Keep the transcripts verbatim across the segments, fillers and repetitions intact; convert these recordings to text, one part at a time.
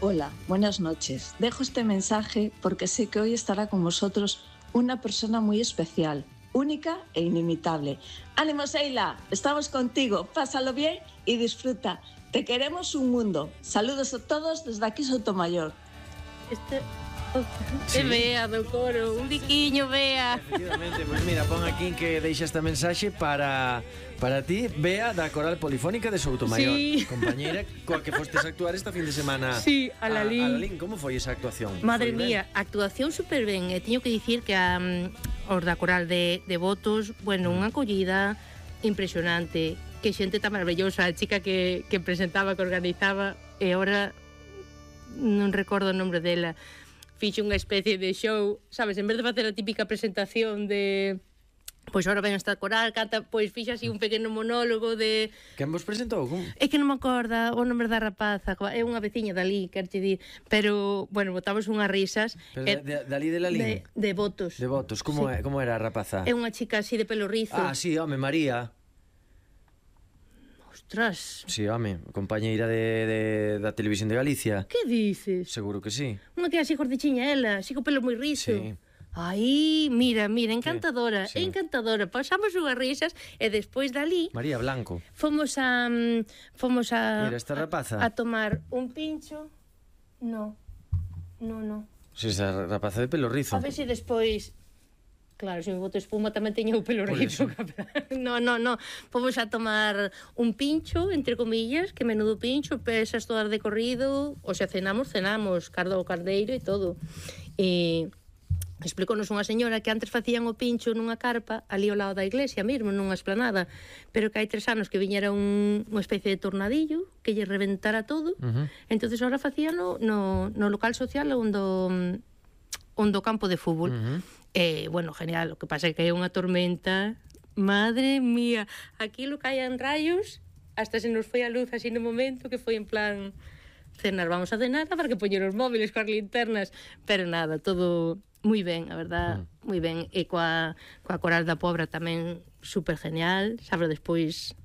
Hola, buenas noches. Dejo este mensaje porque sé que hoy estará con vosotros una persona muy especial, única e inimitable. ¡Ánimo, Seila! Estamos contigo. Pásalo bien y disfruta. Te queremos un mundo. Saludos a todos desde aquí Sotomayor. Este... Sí. Bea do coro, un biquiño, Bea. Efectivamente, pois pues mira, pon aquí que deixa esta mensaxe para para ti, Bea, da Coral Polifónica de Soutomaior, sí. compañeira coa que fostes a actuar esta fin de semana. Sí, a Lalín. A, a Lalín, como foi esa actuación? Madre mía, ben? Actuación super ben. E teño que dicir que a, os da Coral de, de Votos, bueno, unha acollida impresionante. Que xente tan maravillosa, a chica que, que presentaba, que organizaba, e agora non recordo o nombre dela. Fixo unha especie de show, sabes, en vez de facer a típica presentación de pois ahora ven esta coral, canta, pois fixa así un pequeno monólogo de... Quen vos presentou? Como? É que non me acorda o nombre da rapaza, é unha veciña dali, quero te dir, pero, bueno, botamos unhas risas. Pero eh, de, dali de Lalín? De, de Votos. De Votos, como, sí. é, como era a rapaza? É unha chica así de pelo rizo. Ah, sí, home, María. Ostras. Sí, home, compañeira de, de, da Televisión de Galicia. Que dices? Seguro que sí. Unha que así gordichiña ela, así co pelo moi rizo. Sí. Ai, mira, mira, encantadora, sí. encantadora. Pasamos unhas risas e despois dali... María Blanco. Fomos a... Fomos a... Mira, esta rapaza. A, a tomar un pincho. No, no, no. Si, esa rapaza de pelo rizo. A ver se despois... Claro, se me boto espuma tamén teño o pelo rizo. No, no, no. Fomos a tomar un pincho, entre comillas, que menudo pincho, pesas todas de corrido, o sea, cenamos, cenamos, cardo ao cardeiro e todo. E explíconos unha señora que antes facían o pincho nunha carpa ali ao lado da iglesia mesmo, nunha esplanada, pero que hai tres anos que viñera un, unha especie de tornadillo que lle reventara todo. Uh-huh. Entonces ahora facían no, no, no local social onde do campo de fútbol. Uh-huh. Eh, bueno, genial, o que pasa é que hai unha tormenta, madre mía, aquilo caían rayos, hasta se nos foi a luz así no momento que foi en plan cenar, vamos a cenar, para que poñer os móviles coas linternas, pero nada, todo moi ben, a verdad, uh-huh. moi ben, e coa, coa Coral da Pobra tamén super genial, sabe, despois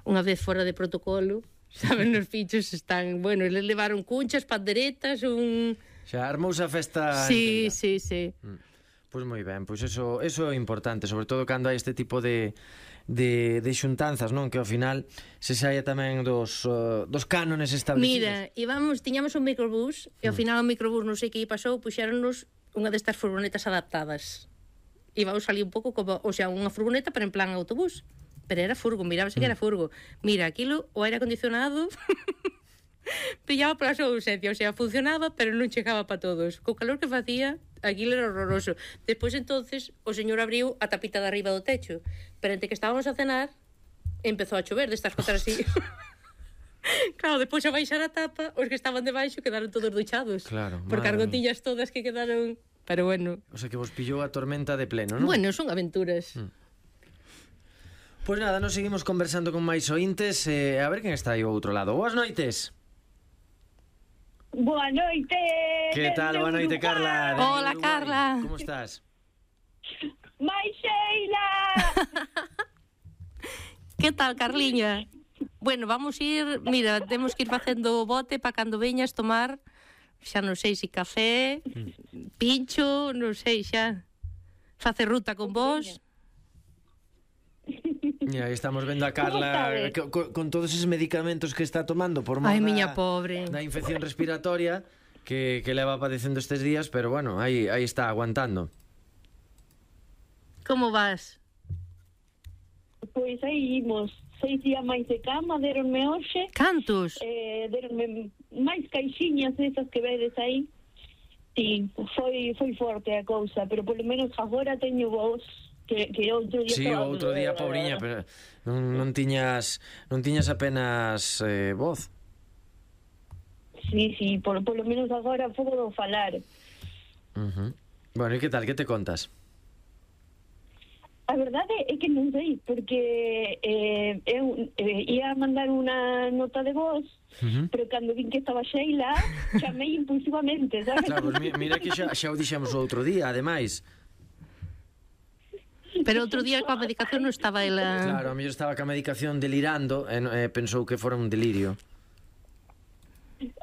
unha vez fora de protocolo, saben, nos pinchos están, bueno, eles levaron cunchas, panderetas, un... Xa armouse a festa. Sí, entera. sí, sí. Mm. Pois moi ben, pois eso, eso é importante, sobre todo cando hai este tipo de, de, de xuntanzas, non? Que ao final se saia tamén dos, uh, dos cánones establecidos. Mira, íbamos, tiñamos un microbús, e ao final o microbús non sei que pasou, puxéronnos unha destas furgonetas adaptadas. Íbamos ali un pouco como, o sea, unha furgoneta pero en plan autobús, pero era furgo, mirábase que era furgo. Mira, aquilo, o aire acondicionado... pillaba pola súa ausencia, o sea, funcionaba pero non chegaba para todos, co calor que facía aquilo era horroroso. Despois entonces o señor abriu a tapita de arriba do techo, pero entre que estábamos a cenar empezou a chover destas cotas así. Claro, despois a baixar a tapa, os que estaban debaixo quedaron todos duchados, claro, porque as gotillas todas que quedaron, pero bueno. O sea que vos pillou a tormenta de pleno, non? Bueno, son aventuras. mm. Pois pues nada, nos seguimos conversando con máis ointes, eh, a ver quen está aí ao outro lado. Boas noites. Boa noite. Que tal? Boa noite, Carla. Hola, Carla. Como estás? Mai Sheila. Que tal, Carliña? Bueno, vamos ir, mira, temos que ir facendo o bote para cando veñas tomar, xa non sei se café, pincho, non sei xa. Facer ruta con vos. Mira, aí estamos vendo a Carla con, con todos esos medicamentos que está tomando por mor Ai, da, miña pobre. da infección respiratoria que, que leva padecendo estes días, pero bueno, aí, aí está aguantando. Como vas? Pois aí imos seis días máis de cama, deronme hoxe. Cantos? Eh, deronme máis caixiñas esas que vedes aí. Sí, foi, foi forte a cousa, pero polo menos agora teño voz. Que, que outro día... Sí, outro día, pobriña, pero non, non tiñas non tiñas apenas eh, voz. Sí, sí, por, por lo menos agora podo falar. Uh-huh. Bueno, e que tal, que te contas? A verdade é que non sei, porque eh, eu eh, ia mandar unha nota de voz, uh-huh. pero cando vin que estaba Sheila, chamei impulsivamente, sabes? Claro, pues mira que xa, xa o dixemos o outro día, ademais. Pero outro día coa medicación non estaba ela... Claro, a mellor estaba coa medicación delirando e eh, pensou que fora un delirio.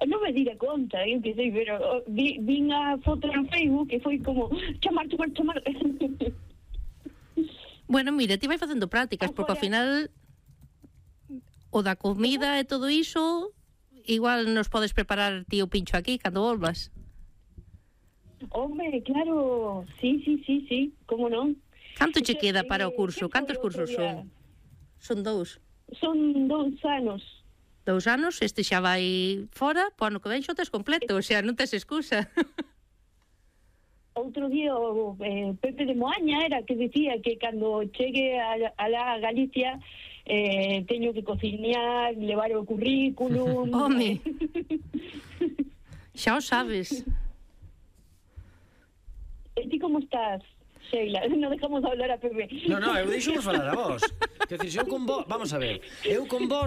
Non me me dira conta, eu que sei, pero oh, vi, vin a foto no Facebook e foi como chamar, chamar, chamar. Bueno, mira, ti vai facendo prácticas, porque ao final o da comida e todo iso, igual nos podes preparar ti o pincho aquí cando volvas. Hombre, claro, sí, sí, sí, sí, como non? Canto che queda para o curso? Cantos cursos son? Son dous. Son dous anos. Dous anos, este xa vai fora, po ano que ven xo tes completo, o sea, non tes excusa. Outro día o eh, Pepe de Moaña era que dicía que cando chegue a, a la Galicia eh, teño que cociñar, levar o currículum. Home, xa o sabes. E ti como estás, Sheila? Non dejamos hablar a Pepe. No, no, eu deixo vos falar a vos. Que decir, eu con vos, vamos a ver, eu con vos